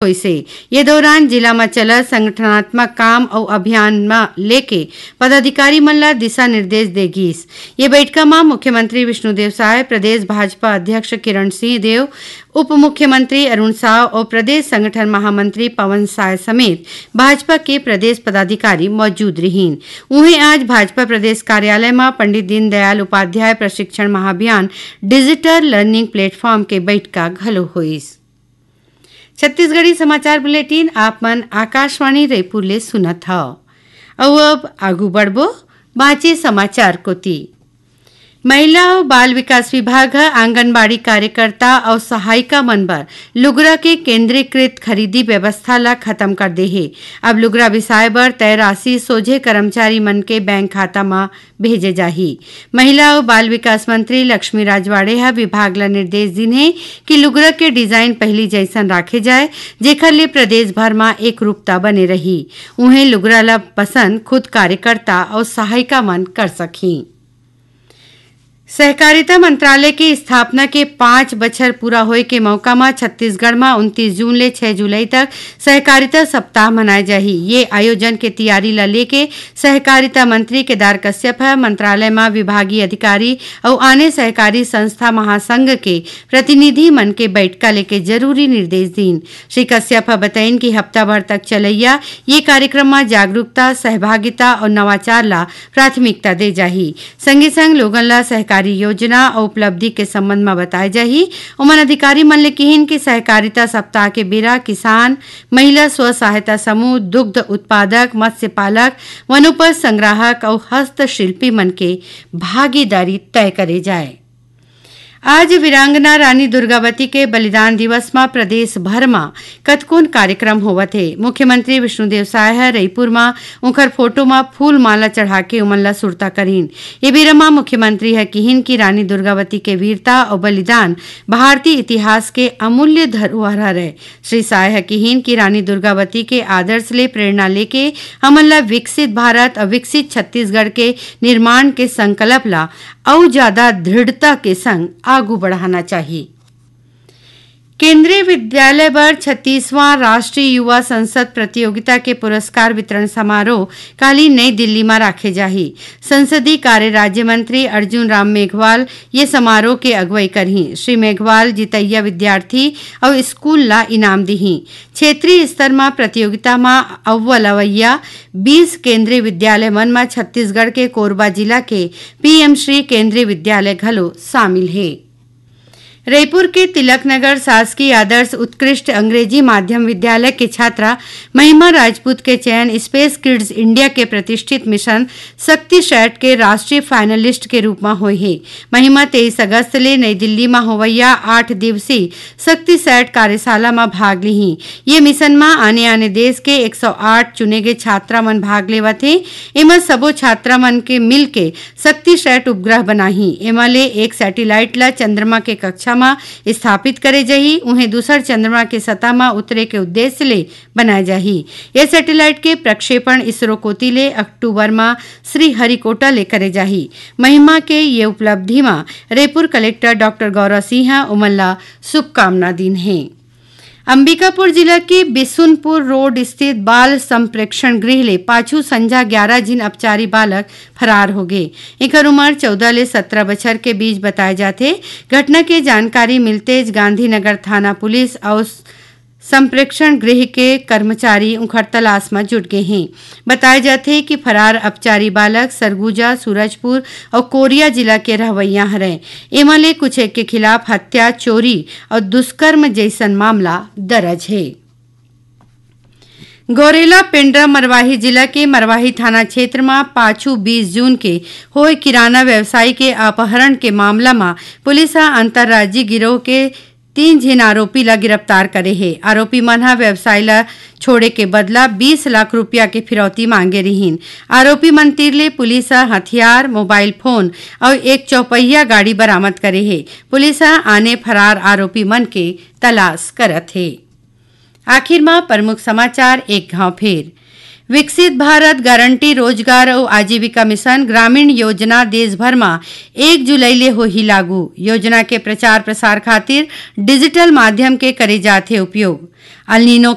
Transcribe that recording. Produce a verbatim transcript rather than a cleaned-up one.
होइसे। ये दौरान जिला म चलत संगठनात्मक काम अउ अभियान म लेके पदाधिकारी मन ल दिशा निर्देश दे गीस। ये बैठका म मुख्यमंत्री विष्णुदेव साय, प्रदेश भाजपा अध्यक्ष किरण सिंह देव, उप मुख्यमंत्री अरुण साव अउ प्रदेश संगठन महामंत्री पवन साय समेत भाजपा के प्रदेश पदाधिकारी मौजूद रिहीन। उहें, आज भाजपा प्रदेश कार्यालय म पंडित दीनदयाल उपाध्याय प्रशिक्षण महाभियान डिजिटल लर्निंग प्लेटफॉर्म के बैठका घलो होइस। छत्तीसगढ़ी समाचार बुलेटिन आप मन आकाशवाणी रायपुर ले सुनत हव। अउ अब आगू बढ़बो बांचे समाचार कोति। महिला अउ बाल विकास विभाग ह आंगनबाड़ी कार्यकर्ता अउ सहायिका मन बर लुगरा के केंद्रीकृत खरीदी व्यवस्था ल खत्म कर दे हे। अब लुगरा बिसाए बर तय राशि सोझे कर्मचारी मन के बैंक खाता म भेजे जाही। महिला अउ बाल विकास मंत्री लक्ष्मी राजवाड़े ह विभाग ल निर्देश दीन हे कि लुगरा के डिजाइन पहिली जइसन राखे जाए, जेखर ले प्रदेश भर म एकरूपता बने रही। उहें, लुगरा ल पसंद खुद कार्यकर्ता अउ सहायिका मन कर सकही। सहकारिता मंत्रालय के स्थापना के पाँच बछर पूरा होए के मौका म छत्तीसगढ़ म उनतीस जून ले छह जुलाई तक सहकारिता सप्ताह मनाए जाही। ये आयोजन के तैयारी ल लेके सहकारिता मंत्री केदार कश्यप ह मंत्रालय म विभागीय अधिकारी अउ आने सहकारी संस्था महासंघ के प्रतिनिधि मन के बैठका लेके जरूरी निर्देश दीन। श्री कश्यप ह बताइन कि हफ्ता भर तक चलैया ये कार्यक्रम म जागरूकता, सहभागिता अउ नवाचार ला प्राथमिकता दे जाही। संगे संग लोगन ला सहकारी योजना अउ उपलब्धि के संबंध म बताए जाही। ओमन अधिकारी मन ले किहिन कि सहकारिता सप्ताह के बेरा किसान, महिला स्व सहायता समूह, दुग्ध उत्पादक, मत्स्य पालक, वनोपज संग्राहक अउ हस्तशिल्पी मन के भागीदारी तय करे जाए। आज वीरांगना रानी दुर्गावती के बलिदान दिवस म प्रदेश भर म कतकोन कार्यक्रम होवत हे। मुख्यमंत्री विष्णुदेव साय ह रईपुर म उंखर फोटो म फूल माला चढ़ा के उमन ला सुरता करिन। ये बेरा म मुख्यमंत्री ह किहिन कि रानी दुर्गावती के वीरता अउ बलिदान भारतीय इतिहास के अमूल्य धरोहर हरय। श्री साय ह किहिन कि रानी दुर्गावती के आदर्श ले प्रेरणा लेके हमन ला विकसित भारत अउ विकसित छत्तीसगढ़ के निर्माण के संकल्प ला अउ ज्यादा दृढ़ता के संग आगू बढ़ाना चाही। केंद्रीय विद्यालय बर छत्तीसवां राष्ट्रीय युवा संसद प्रतियोगिता के पुरस्कार वितरण समारोह काली नई दिल्ली म राखे जाही। संसदीय कार्य राज्य मंत्री अर्जुन राम मेघवाल ये समारोह के अगुवई करही। श्री मेघवाल जितैया विद्यार्थी अउ स्कूल ला इनाम दिही। क्षेत्रीय स्तर म प्रतियोगिता म अव्वल अवैया बीस केंद्रीय विद्यालय मन म छत्तीसगढ़ के कोरबा जिला के पीएम श्री केंद्रीय विद्यालय घलो शामिल हे। रईपुर के तिलक नगर शासकीय आदर्श उत्कृष्ट अंग्रेजी माध्यम विद्यालय के छात्रा महिमा राजपूत के चयन स्पेस किड्स इंडिया के प्रतिष्ठित मिशन शक्ति सैट के राष्ट्रीय फाइनलिस्ट के रूप म होय हे। महिमा तेईस अगस्त ले नई दिल्ली म होवइया आठ दिवसीय शक्ति सैट कार्यशाला म भाग लिही। ये मिशन म आने-आने देश के एक सौ आठ चुने गे छात्रा मन भाग लेवत हे। एमा सबो छात्रा मन के मिलके शक्ति सैट उपग्रह बनाही। एमा ले एक सैटेलाइट ल चंद्रमा के कक्षा म स्थापित करे जाही, उहें दूसर चंद्रमा के सतह म उतरे के उद्देश्य ले बनाए जाही। ये सैटेलाइट के प्रक्षेपण इसरो कोति ले अक्टूबर म श्रीहरिकोटा ले करे जाही। महिमा के ये उपलब्धि म रईपुर कलेक्टर डॉक्टर गौरव सिंह ह ओमन ला शुभकामना दीन हे। अंबिकापुर जिला के बिसुनपुर रोड स्थित बाल संप्रेक्षण गृह ले पाछू संझा ग्यारह झिन अपचारी बालक फरार हो गे। एकर उमर चौदह ले सत्रह बछर के बीच बताए जाथे। घटना के जानकारी मिलतेच गांधीनगर थाना पुलिस अउ संप्रेक्षण गृह के कर्मचारी उंखर तलाश म जुट गे हें। बताए जाथे कि फरार अपचारी बालक सरगुजा, सूरजपुर अउ कोरिया जिला के रहवइया हरय। एमा ले कुछ एक के खिलाफ हत्या, चोरी अउ दुष्कर्म जइसन मामला दरज हे। गौरेला पेंड्रा मरवाही जिला के मरवाही थाना क्षेत्र म पाछू बीस जून के होय किराना व्यवसायी के अपहरण के मामला म पुलिस ह अंतर्राज्यीय गिरोह के तीन झिन आरोपी ला गिरफ्तार करे हे। आरोपी मन ह व्यवसायी ला छोड़े के बदला बीस लाख रुपया के फिरौती मांगे रिहीन। आरोपी मन तीर ले पुलिस ह हथियार, मोबाइल फोन अउ एक चौपहिया गाड़ी बरामद करे हे। पुलिस ह आने फरार आरोपी मन के तलाश करत हे। आखिर म प्रमुख समाचार एक घाव फेर। विकसित भारत गारंटी रोजगार अउ आजीविका मिशन ग्रामीण योजना देश भर म एक जुलाई ले होही लागू। योजना के प्रचार प्रसार खातिर डिजिटल माध्यम के करे जाथे उपयोग। El Nino